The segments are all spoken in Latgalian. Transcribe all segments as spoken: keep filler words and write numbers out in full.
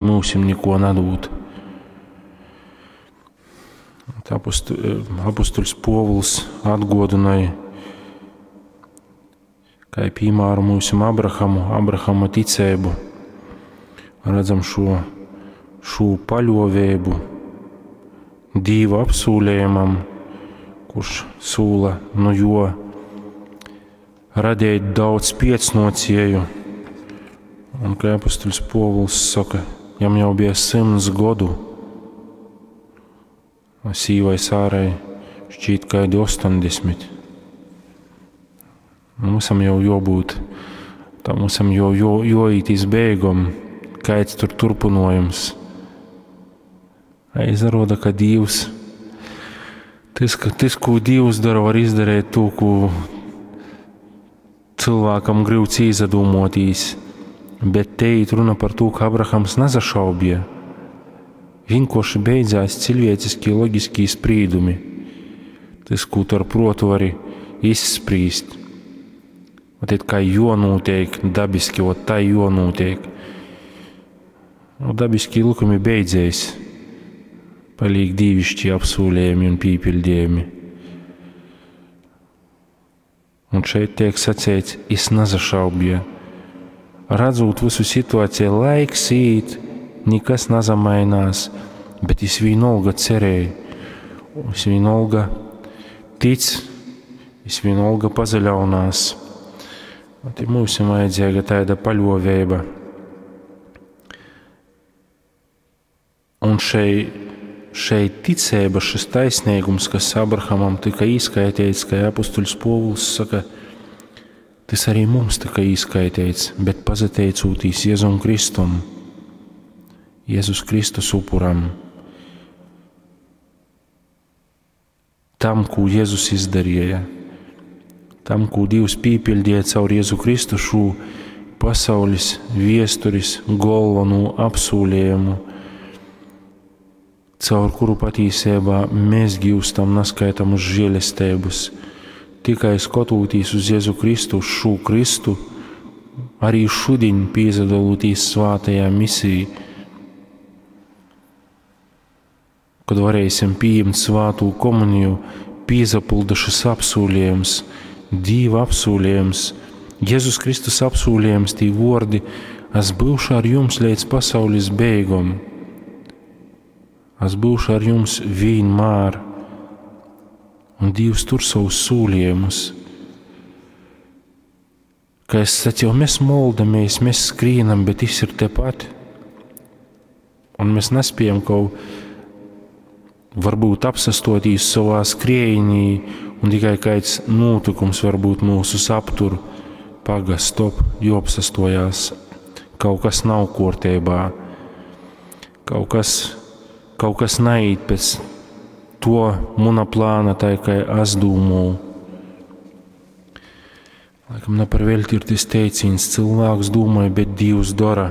Myusim nikuo nadūd. Apustuļs Puovuls atguodynoj, kai pīmāru myusim Abrahamu, Abrahama ticeibu. Redzam šo, šū paļuoveibu Dīva apsūlejumam, kurš sūla nu juo radeit daudz piecnuocieju. Un kai apustuļs Puovuls soka, jam jau bija symts godu, a sīvai Sārai šķīt kaidi ostoņdesmit. Mums jau juobūt, tam visam jau jo, joīt iz beigom, kaids tur turpinojums. A izaruoda, ka Dīvs, tys, ka, tys, kū Dīvs dora, var izdarīt tū, kū cylvākam gryuts īsadūmuotīs. Bet te īt runa par tū, ka Abrahams nasašaubīja. Vienkārši beidzās cilvēciskie loģiskie sprīdumi. Tas, ko tu ar protu vari izsprīst. Ot, it kā jonūtiek dabiski, ot tā jonūtiek. Nu, dabiskie likumi beidzēs. Palīk dīvišķi apsūlējumi un pīpildījumi. Un šeit tiek sacīts, es nasašaubīju. Redzot visu situāciju, laiks īt, nekas nazamainās, bet es vienalga cerēju, es vienalga tic, es vienalga pazaļaunās. Te mums vajadzīga tāda paļuoveiba. Un šeit, šeit ticība, šis taisnīgums, kas Abrahamam tika īskaitīts, kā apustuļs Povuls saka, tas arī mums tika īskaitīts, bet pazateicūtīs Jēzum Kristum, Jēzus Kristus upuram, tam, ko Jēzus izdarīja, tam, ko Dievs pīpildīja caur Jēzu Kristu šo pasaules viesturis galveno apsūlējumu, caur kuru patīsībā mēs gūstam naskaitamus žēlestības. Tikai skatoties uz Jēzu Kristu, uz šo Kristu, arī šodien piedaloties svētajā misijā, kad varēsim pieņemt svēto komuniju, piezapulda šis apsūlījums, Dīva apsūlījums, Jēzus Kristus apsūlījums, tī vordi, es būšu ar jums līdz pasaules beigom. Es būšu ar jums vienmēr. Un Dievs tur savus sūlījumus. Kā es sacīju, mēs moldamies, mēs skrīnam, bet viņš ir tepat. Un mēs nespējam kaut varbūt apsastotīs savā skriejinī, un tikai kāds notikums varbūt mūsus aptur. Paga, stop, jo apsastojās. Kaut kas nav kārtībā. Kaut kas, kaut kas naiet pēc to muna plāna, tā kā es domāju. Laikam ne par velti ir tas teiciens, cilvēks domāja, bet Dievs dara.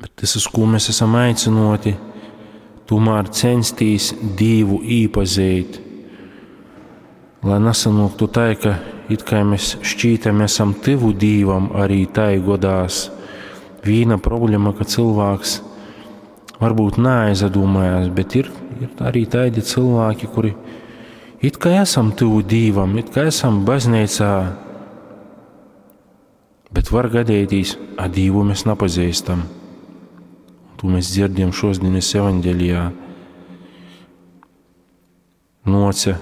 Bet tas, uz ko mēs esam aicinoti, tomēr censties Dievu īpazīt, lai nesanāktu tā, ka it kā mēs šķītam, esam tuvu Dievam, arī tai godās. Viena problēma, ka cilvēks varbūt neaizdomājās, bet ir, ir arī tādi cilvēki, kuri it kā esam tuvu Dievam, it kā esam baznīcā, bet var gadīties, a Dievu mēs nepazīstam. To mēs dzirdam šodienas evaņģēlijā. Noca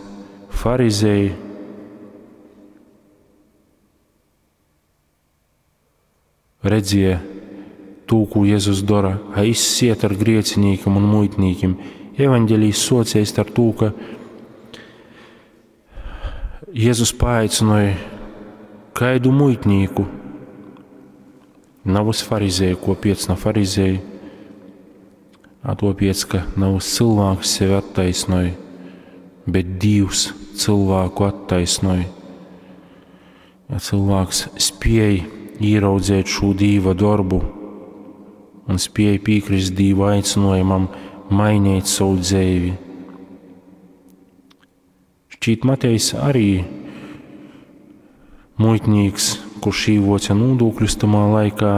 farizēji, redzēja to, ko Jēzus dara, a izsiet ar griecinīkiem un muitnīkiem. Evaņģēlijs socijas ar to, ka Jēzus paaicināja kaidu muitnīku, nav uz farizēju, ko piec na farizēju, a to piec, ka nav uz cilvēks sevi attaisnoja, bet Dievs cilvēku attaisnoja. Ja cilvēks spēj ieraudzēt šo Dieva darbu un spēj piekrist Dieva aicinājumam mainīt savu dzīvi. Šķiet, Matejs arī muitnīks kurš īvuoce nūdūkļus tymā laikā.